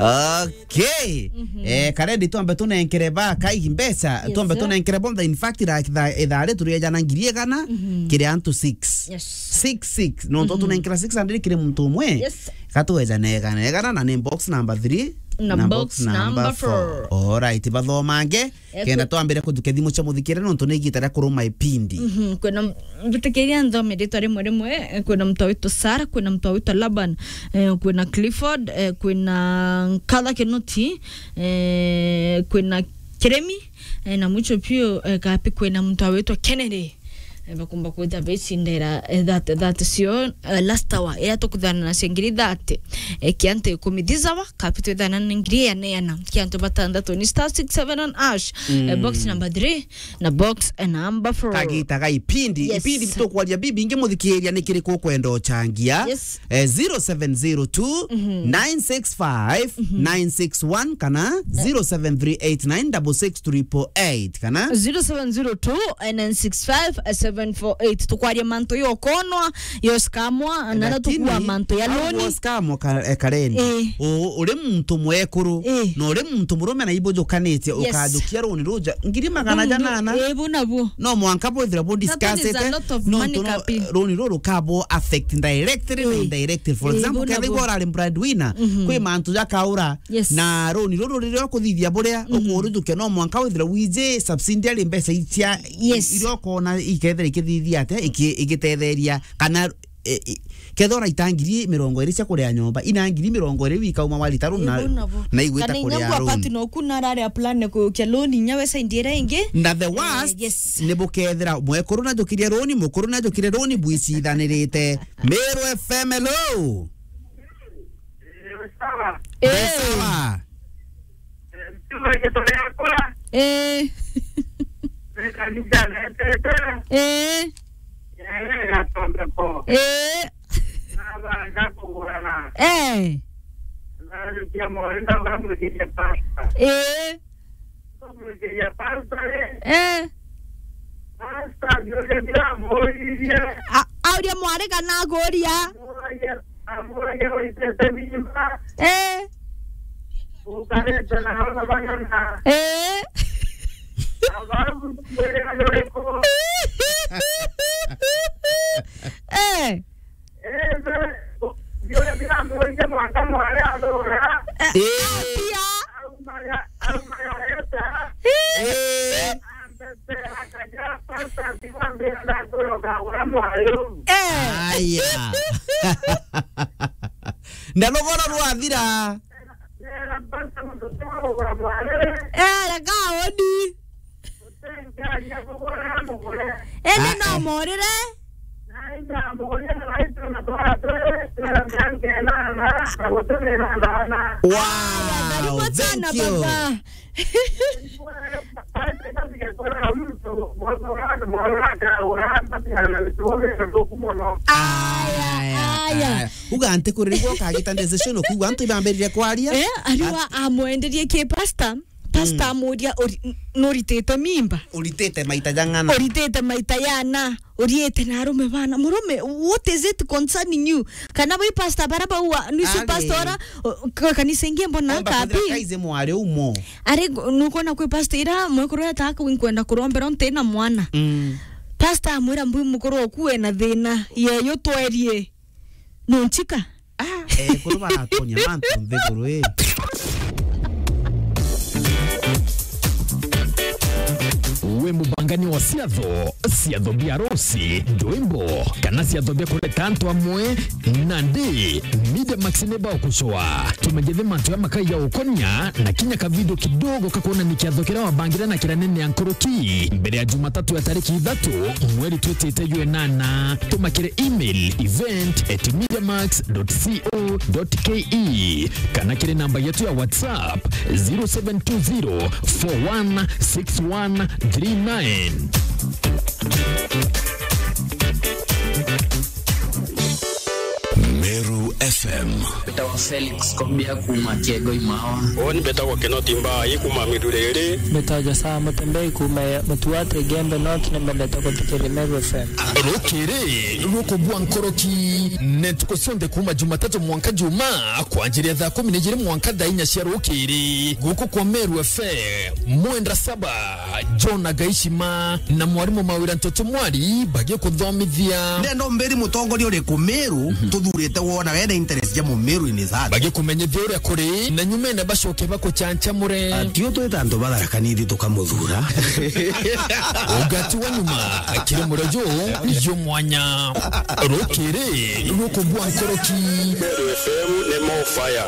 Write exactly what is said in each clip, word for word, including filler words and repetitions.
Okay. Eh, karendi twambe tunenkere ba kai mbeca, Yes, twambe sir. tunenkere bonthe. In fact, ira-, itha-, ithaa ri turiejana ngiri igana, Mhm. kiri antu six. Yes. Six, six. No, Mhm. tunenkera six hundred kiri muntu umwe. Yes. Gatwejana igana, igana, na ni box number three, Na na box box number number four. four. Alright, bathomange, Eh, kenda kwi- twambire kujukia thimu cia muthikire, nontu ni igita ria kuruma ipindi. Mhm, kwina m-, mbitikiria nthome ritwa rimwe rimwe, eh, kwina mtu witwa Sarah, kwina mtu witwa Laban, eh, kwina Clifford, eh, kwina Nkatha Kinuti, eh, kwina Kiremi, eh, na mwicho piu, eh, kapi kwina mtu witwa Kennedy. Eh, bakumba kwita becindera, eh, that, that sio, eh, last hour, ya tukuthana na cia ngiri thirty. Eh, kiantu ikumi this hour, kapi twithana na ngiri ya neana. Kiantu batandatu ni star six seven on ash. Eh, Mm. box number three, na box, eh, number four. Kagita ga ipindi, Yes. ipindi tukwaria bibi ingi muthikiria ni kiriku ukwenda uchangia? Yes. Eh, zero seven zero two, Mhm. nine six five, Mhm. nine six one kana zero seven three eight nine double six triple eight kana zero seven zero two, nine six five, seven four eight. Tukwaria mantu yo konwa, yo skamwa, na no Lakini, tukua mantu ya au loni. Wo skamwa ka-, eh, karendi. Eh. U-, uri muntu mwekuru, Eh. na uri muntu murume na ibujukanite, Yes. ukajukia roni ruja ngiri magana janana. Eh, bu nabu. No mwanka bwithira bu That one is a discussite, lot of no money, ntu no, kapi. Roni ruru kabo affect directly na Eh. indirectly. For Eh, example, bu ketha nabu. Igwa urari breadwinner, Mhm. kwi mantu jakaura, Yes. na roni ruru riria ukuthithia buria, Mhm. ukurujukia no mwanka withira wiji subsidiary mbeca icia Yes. iria ukona ikethira ikithithia atia, iki-, igitetheria kana, e, e, kethira uraita ngiri mirongo iri cia kuria nyomba, ina ngiri mirongo iri wika uma warita runi na, Ibu nabo. Na igwita Kana inya kuria ngwa runi. Pati noku narari a plan kuukia loan inya we side ira ingi. Na the Eh, worst, yes. Ni bukethira mwekuru najukirie runi, mukuru najukirie runi, bwicithanirite. Meru F M, hello. Sawa. Eh. Sawa. Ntume gitore yakura. Eh. Kanisa netete. Eh. Yere gatondeko. Eh. Nabanga kugurana. Eh. Narikia mori ndauga mwikire pasta. Eh. Mwikire pasta, eh. Eh. Pasta, ndio ndio mori. A-, auria mwari kana akuria? Amuragia, amuragia waitete mimba. Eh. Ukarete na ona bang'ana. Eh. Ababu, mwere na yoreko. Eh. Eh, be, yule bila mwere mwanka mware adora. Eh. Eh. Atia. Aumaya, aumaya eta. Eh. Eh. Aya. Na rugoro rwathira. Eh, reka odi. Indi no morire. Wow, karibu sana, thank you. Baba. Aya, aya. Aya, aya. Uga nti kuri riu ukagita decision, ukiigua antu ibambiririe kwaria. Eh, ariwa amwenderie ki pastor. Pastor amuria, "Uri-, n-, nuritite mimba? Uritite maita jang'ana? Uritite maita yana? Uriite na arume bana?" Murume, what is it concerning you? Kana wi pastor bara baua, nwici pastor ora, o, ka-, kanisa ingi mbona kabi? Omba kwithira kaize mwari umo. Ari, nukwona kwi pastor ira mwekuru eta kwinkwenda kurombera nti na mwana. Mm. Pastor amwira, "Mbui mukuru oku ena thina, yeyo twerie." Nunchika? Ah, eh, kuru baratonya mantu nthiguru ii. Wi mubangani wa ciatho, ciatho bia arusi, ndwimbo, kana ciatho bia kureta antu amwe? Nandi, Media Max ni bagucua. Tumenyithe mantu ya makai ya ukonia na kinya kavidio kidogo kakuonania kiatho kiria wabangire na kiria nene ya nkuruki mbere ya Jumatatu ya tariki ithatu mweri twitite jwa inana. Tuma kiri email event at mediamax dot co dot ke kana kiri namba yetu ya WhatsApp zero seven two zero four one six one three nine. Meru F M. Mbetagwa Felix Kobia kuuma Kiego Imawa. Uuni mbetagwa Kinoti Mbai kuuma Miruriri. Mbetagwa Josaa Mutembei kuuma Mutuate Igembe North, ni mbendete kuthikiria Meru F M. Rukiri rukubua nkoroki ni ntuku cionthe kuuma Jumatatu mwanka Juma, kwanjiria thaa kumi na ijiri mwanka thaa inya cia rukiri, guku kwa Meru F M. Mwenda saba, John Agaishima na mwarimu Mawira Ntoto Mwari bagikuthomithia. Ndenda umbiri mutongoria uriku Meru tuthurite wona wena interest ja Mumeru in his heart. Bagikumenyithia uria kuri, na nyumene bacoke bakuchanchamure. Ati utwita antu batharakanithi tukamuthura. Ugati wa nyuma, kiri murejo, yo mwanya. Rukiri rukubua nkoroki. Meru F M ni more fire.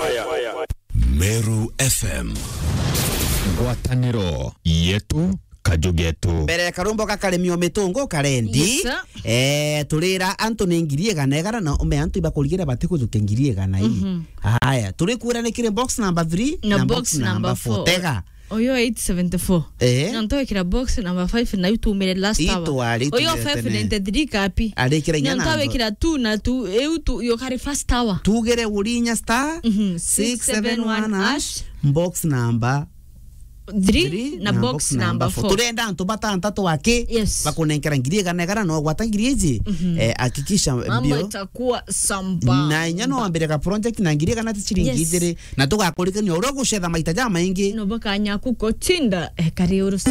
Meru F M. Ngwataniro yetu, kaju getu. Mbere karumbo gakaremio mitungu karendi. Yes, sir. Eh, turira antu ni ngiri igana igana na ume antu ibakurigire batikujukia ngiri igana ii. Mhm. Haya, turikwira ni kiri box number three na box number four. Tega. Uyu eight seventy-four. Eh? Na ntwekira box number five na iu tumire last hour. Uyu five ninety-three kapi. Arikira inya na ntwekira two na two, iu tu, yo kari first hour. Tugere urinya star Mhm, six seven one hash, box number three na box number four. Turenda antu batantatu aki. Yes. Bakunenkera ngiri igana igana, no gwata ngiri iji. Mhm. Eh, hakikisha. Mambo mbio. Itakuwa samba. Na inya no wambire ka project na ngiri igana ti ciringi. Yes. Ijiri. Na tugakurikania uria ugucetha maita jamaingi. No bakanya kukotinda, eh, kari urusa.